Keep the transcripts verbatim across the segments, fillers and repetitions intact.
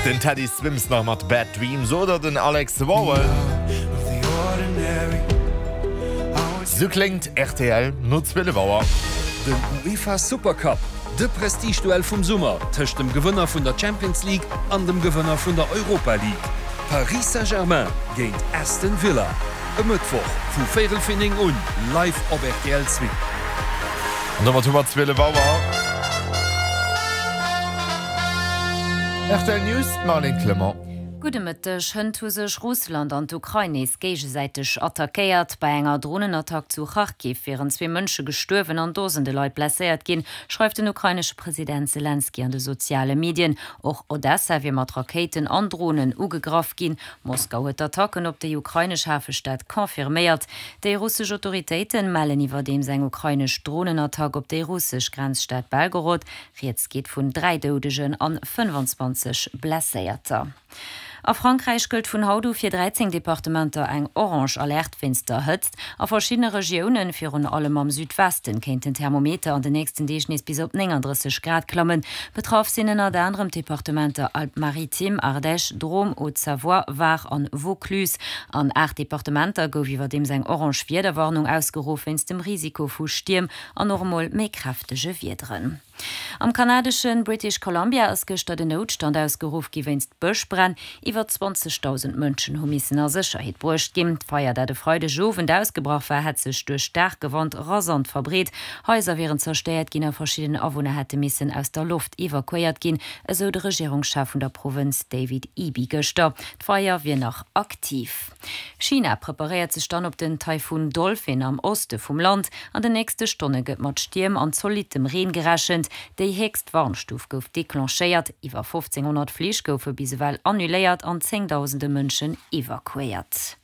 Den Teddy Swims nach mat Bad Dreams oder den Alex Warwell. Sou kléngt rtl no zwielef Auer. Den UEFA Supercup, de Prestigeduell vum Summer tëscht dem Gewënner vun der Champions League an dem Gewënner vun der Europa League. Paris Saint-Germain géint Aston Villa. E Mëttwoch vu véierel fir néng un, live op rtl zwee. An domat hu mer zwielef Auer. Rtl News, d'Marlène Clement. Gudde Mëtteg. Hënt hu sech Russland an d'Ukrain nees géigesäiteg attackéiert. Bei enger Dronenattack zu Charkiw wieren zwee Mënsche gestuerwen an Dosende Leit blesséiert ginn, schreift den ukrainesche President Selenskyj an de soziale Medien. Och Odessa wier mat Rakéiten an Dronen ugegraff ginn. Moskau huet d'Attacken op déi ukrainesch Hafestad confirméiert. Déi russesch Autoritéite mellen iwwerdeems eng ukrainesch Dronenattack op déi russesch Grenzstad Belgorod. Rieds geet vun dräi Doudegen an fënnefanzwanzeg Blesséierter. A Frankräich gëllt vun haut u fir dräizéng Departementer eng orange Alerte wéinst der Hëtzt. A verschiddene Regiounen, virun allem am Südwesten, kéint den Thermometer an den nächsten Deeg nees bis op nénganddrësseg Grad klammen. Betraff sinn ënnert anerem d'Departementer Alpes-Maritimes, Ardèche, Drôme, Haute-Savoie, Var an Vaucluse. An aacht Departementer gouf iwwerdeems eng orange Wiederwarnung ausgeruff wéinst dem Risiko vu Stierm an och emol méi kräftege Wiederen. Am kanadeschen British Columbia ass gëschter den Noutstand ausgeruff gi wéinst Bëschbränn. Iwwer zwanzegdausend Mënschen hu missen a Sécherheet bruecht ginn. D'Feier, dat e Freidegowend ausgebrach war, hätt sech duerch staarke Wand rasant verbreet. Haiser wieren zerstéiert ginn a verschidden Awunner hätte missen aus der Loft evakuéiert ginn, esou de Regierungschef vun der Provënz David Eby gëschter. D'Feier wier nach aktiv. China preparéiert sech dann op den Taifun Dolphin am Oste vum Land. An den nächste Stonne gëtt mat Stierm an zolittem Reen gerechent. Déi héchst Warnstuf gouf declenchéiert, iwwer fofzénghonnert Flich goufe bis ewell annuléiert an zéngdausende Mënschen evakuéiert.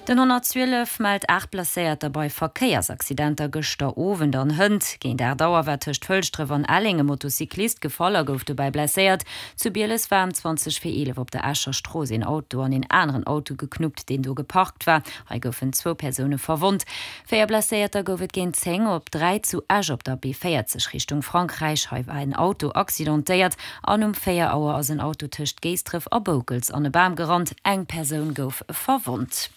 Den honnertzwielef mellt aacht Blesséierter bei Verkéiersaccidenter gëschter Owend an hënt. Géint aacht Auer war tëscht Fëlschdref an Elleng e Motocyclist gefall a gouf dobäi blesséiert. Zu Bieles war ëm zwanzeg vir eelef op der Escher Strooss een Auto an een aneren Auto geknuppt, deen do geparkt war. Hei goufen zwou Persoune verwonnt. Véier Blesséierter gouf et géint zéng op dräi zu Esch op der B véierzeg Richtung Frankräich. Hei war en Auto accidentéiert an um véier Auer ass en Auto tëscht Géisdref a Boukels an e Bam gerannt. Eng Persoun gouf verwonnt.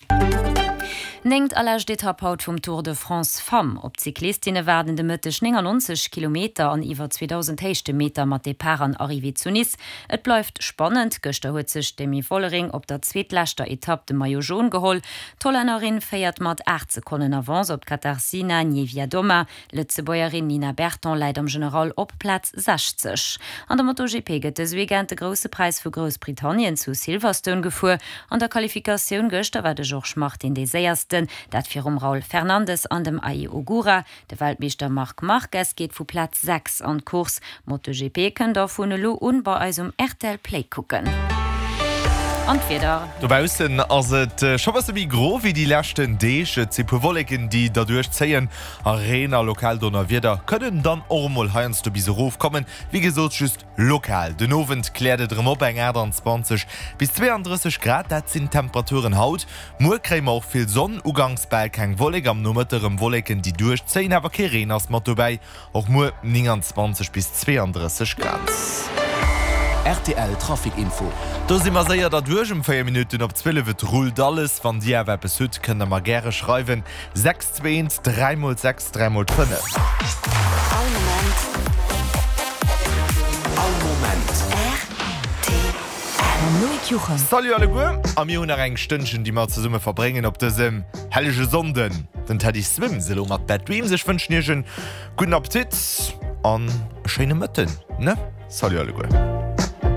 Néngt a lescht Etapp haut vum Tour de France Femmes. Op d'Cyclistinne waarden de Mëtteg néngannonzeg Kilometer an iwwer zweedausend Héichtemeter mat Depart an Arrivée zu Nice. Et bleift spannend, Gëschter huet sech d'Demi Vollering op der zweetleschter Etapp de Maillot Jaune geholl. D'Hollännerin féiert mat aacht Sekonnen Avance op d'Katarzyna Niewiadoma. D'Lëtzebuergerin Nina Berton läit am General op Plaz sechzeg. An der MotoGP gëtt dëse Weekend de Grousse Präis vu Groussbritannien zu Silverstone gefuer. An der Qualifikatioun gëschter war de Jorge Martin dee Séiersten, dat virum Raul Fernandez an dem Ai Ogura. De Weltmeeschter Marc Marquez geet vu Plaz sechs an d'Course. MotoGP kënnt der vun elo un bei eis um rtl Play kucken. An d'Wieder. Dobaussen ass et scho bësse méi gro wéi déi leschten Deeg. Et si puer Wolleken, déi derduerch zéien a Reen a lokal Donnerwieder kënnen dann och emol heiansdo bis erof kommen. Wéi gesot just lokal. Den Owend kläert et erëm op, eng aachtanzwanzeg bis zweeandrësseg Grad, dat sinn d'Temperaturen haut. Muer kréie mer och vill Sonn, uganks bal keng Wollek, am Nomëtte rëm Wolleken, déi duerchzéien, awer kee Reen ass mat dobäi. Och muer nénganzwanzeg bis zweeandrësseg Grad. Rtl Trafic Info. Do si mer séier derduerch um véier Minutten op zwielef. Et rullt alles. Wann Dir awer eppes hutt, kënnt der mer gäre schreiwen, sechs zwee eent dräi mol sechs dräi mol fënnef. All Moment. All Moment. Rtl. Mam Loïc Juchem. Salut alleguer! A mir hunn nach eng Stënnchen, déi mer zesumme verbréngen op dësem hellege Sonnden. Den Teddy Swims elo mat Bad Dreams. Ech wënschen Iech en gudden Appetit an e schéine Mëtten, ne? Salut alleguer!